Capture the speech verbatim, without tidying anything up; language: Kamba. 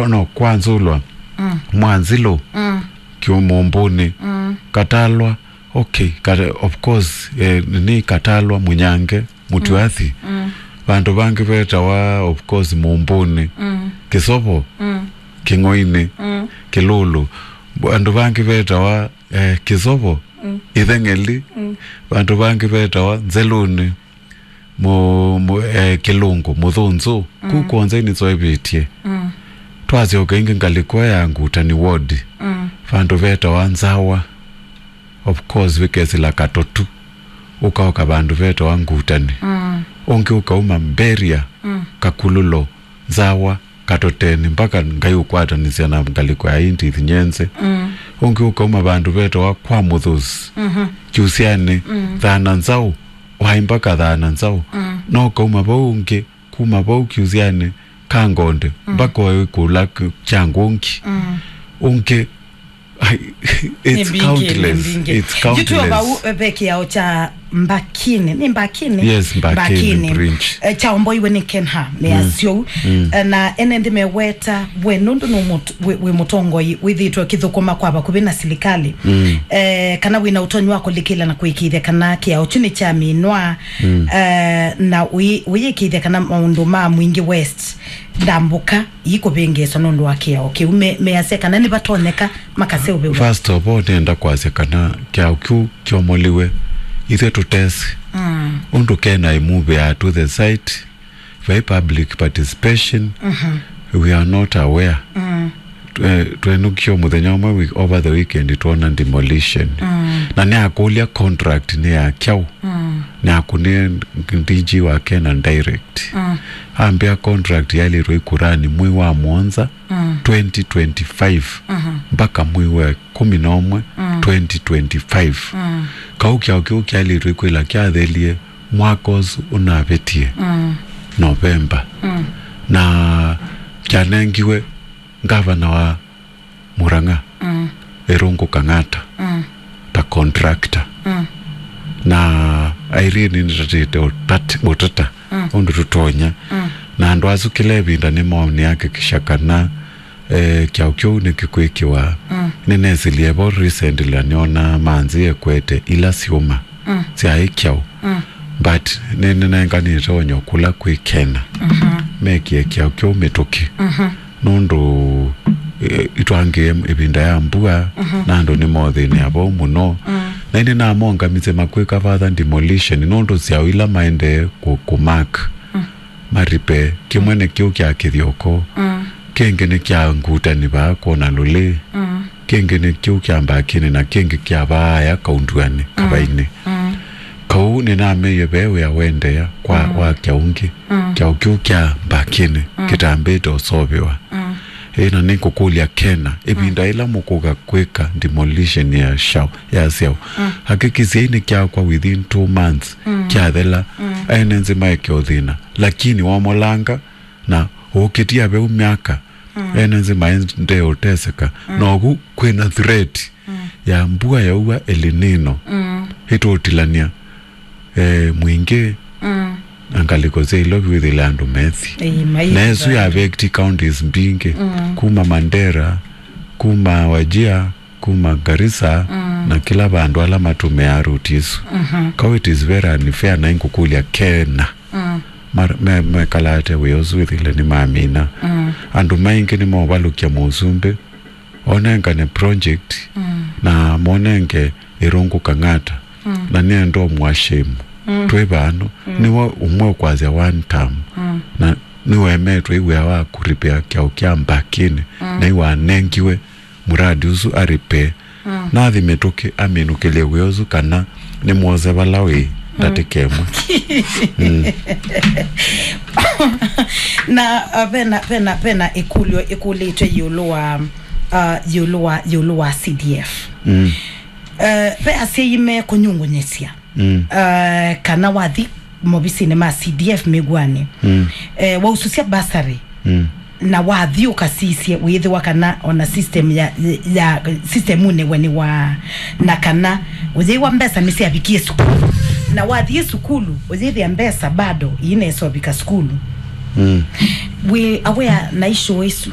no kwanzulwa, mm, Mwanzilũ, mm, Kiumumbuni, mm, Katalwa, okay, kata, of course, eh, ni Katalwa, Munyange, Mutuathi. Mm. Vandu vangi vetawa, of course, Mumbuni, mm, Kisovo, mm, King'oini, mm, Kilulu. Vandu vangi vetawa, eh, Kisovo, mm, Itheng'eli. Mm. Vandu vangi vetawa Nzeluni, mu, mu, eh, Kilungu, Muthunzu. Mm. Kuu kwonza nitwaivĩtye. Mm. Twasyoka ingi ngalĩko ya Ngutani ward. Mm. Vandu vetawa Nzawa. Of course, wĩkesĩla Katotu, ũkaoka vandu vetawa Ngutani. Mm. Ũngĩ ũkauma Mberia, mm, Kakululo, Nzawa, Katoteni, mpaka Ngai ũkwatanĩsya na ngalĩko ya Indith Nyenze. Mm. Ũngĩ ũkauma vandu vetawa kwa Mũthũsi, mhm, Kyusyanĩ, mm, Thana Nzaũ, waĩ mpaka Thana Nzaũ. Mm. No ũkauma vau ũngĩ, kuma vau Kyusyanĩ, Kangonde, mm, mpaka oĩ kũla k-, kya ngũngi. Mm. Ũngĩ, ai, it's countless. It's countless. Yu twĩ o vau, eh, ve kĩao kya Mbakini. Ni Mbakini? Yes, Mbakini, Mbakini. Bridge. Eh, kyaomboiwe nĩ Kenha, nĩ, mm, asyo. Mm. Eh, na ene nthĩ meweta, we nũndũ nũ mũt-, wĩ, wĩ mũtongoi, wĩthĩtwe kĩthũkũma kwa vakuvĩ na silikali. Mm. Eh, kana wĩna ũtonyi wa kũlikĩla na kũĩkĩĩthya kana kĩao kyu nĩ kya mĩnwa, mm, eh, na ũyĩ-, ũyĩkĩĩthya kana maũndũ ma Mwingi West ndambũka ikũvĩngĩĩswa nũndũ wa kĩao kĩu, me-, measya kana nĩvatonyeka makaseũvĩw'a. First of all, nĩenda kwasya kana kĩao kĩu kyomoliwe, ithyĩ tũtesĩ. Mm. Ũndũ kena imove to the site, vai public participation, mhm, we are not aware. Mm. Twe-, twenũkie mũthenya ũmwe week-, over the weekend twona demolition. Mm. Na nĩakũlya contract nĩ ya kyaũ. Mm. Nĩakũnĩe D G wa Kena direct. Mm. Ambĩa contract yailĩtwe ikurani mwei wa mũonza, mm, twenty twenty-five, mhm, mpaka mwei wa kũmi na ũmwe, mm, twenty twenty-five. Mm. Kau kyaũ kĩu kyailĩtwe ikwĩla kyathelie mwaka ũsu ũnavĩtie, mm, November. Mm. Na kyanengiwe ngavana wa Murang'a, mm, Irungu Kang'ata, mm, ta contractor. Mm. Na Irene nĩtatĩte ũtat-, ũtata, mm, ũndũ tũtonya. Mm. Na andũ asu kĩla ĩvinda nĩmonĩakikisha kana, eh, kyaũ kĩu nĩkĩkwĩkĩwa. Mm. Nĩnesĩlie vo recently na nĩona manzĩ ekwete ila syũma, mm, syaĩ kyaũ. Mm. But nĩnenganĩte onyo kũla kwĩ Kena. Mhm. Mekie kyaũ kĩu mĩtũkĩ. Mhm. Nũndũ, eh, itwangĩe ĩvinda ya mbua, mhm, na andũ nĩmothĩnĩa vau mũno. Mm. Na ĩndĩ namongamisye makwĩka further demolition, nũndũ syaũ ila maendee kũ-, kũmark, mm, maripe. Kĩmwe nĩ kĩu kya Kĩthyoko, mm, kĩngĩ nĩ kya Ngutani vaa kwona lũlĩ, mm, kĩngĩ nĩ kĩu kya Mbakini, na kĩngĩ kya vaaya Kaunduani, mm, Kavainĩ. Mm. Kau nĩnameie ve wĩa wendeea kwa, mm, wa kyaũ ũngĩ. Mm. Kyaũ kĩu kya Mbakini, mm, kĩtambĩte ũseũvĩwa. Mm. Ĩ, na nĩngũkũlya Kena, ĩvinda, mm, ĩla mũkũka kwĩka demolition ya syaũ, ya syaũ, mm, hakikishiai nĩkyakwa within two months, mm, kyathela, mm, ene nzĩ maeke ũthĩna. Lakini wamolanga na ũkĩtia veu myaka, mm, ene nzĩ maendee ũteseka. Mm. Novu kwĩna threat, mm, ya mbua yaua El Nino, mm, ĩtũtilany'a, eh, Mwingi, mm, na ngalĩko sya ilo vyũthĩle andũ methi. Ĩĩ, mai-, na ĩsu ya affect counties mbingĩ, mm, kuma Mandera, kuma Wajir, kuma Garissa, mm, na kĩla vandũ ala matũmĩaa route isu. Mhm. Kau it is very unfair, na ingũkũlya Kena. Mm. Mar-, me-, mekalate wĩa ũsu wĩthĩle nĩmamina. Mm. Andũ maingĩ nĩmovalũkya mũsumbĩ, onengane project, mm, na monenge Irungu Kang'ata. Mm. Na nĩenda ũmwashame. Mm. Twĩ vano, mm, nĩwe ũmwe ũkwasya one term. Mm. Na nĩwemetwe ĩ wĩa wa kũripĩa kyaũ kya Mbakini, mm, na ĩwanengiwe muradi ũsu aripee. Mm. Nathi mĩtũkĩ aminũkĩlye wĩa ũsu kana nĩmwose vala wĩ, mm, ndatĩka ĩmwe. Mm. Na, uh, vena, vena, vena ĩkũlyo ĩkũlĩtwe ĩũlũ wa, uh, ĩũlũ wa, ĩũlũ wa C D F. Mm. Uh, ve asyai me kũnyungunyĩsya. Mm. Uh, kana wathi movisinĩ ma C D F mĩw'anĩ, mm, eh, waususya bursary, mm, na wathi ũkasisye wĩthĩwa kana ona system ya, ya system ũnĩ we nĩ wa, na kana ũyĩwa mbesa nĩsyavikie sukulu, na wathi sukulu ũyĩthĩa mbesa bado iinesa ũvika sukulu. Mm. Wĩ aware na issue isu?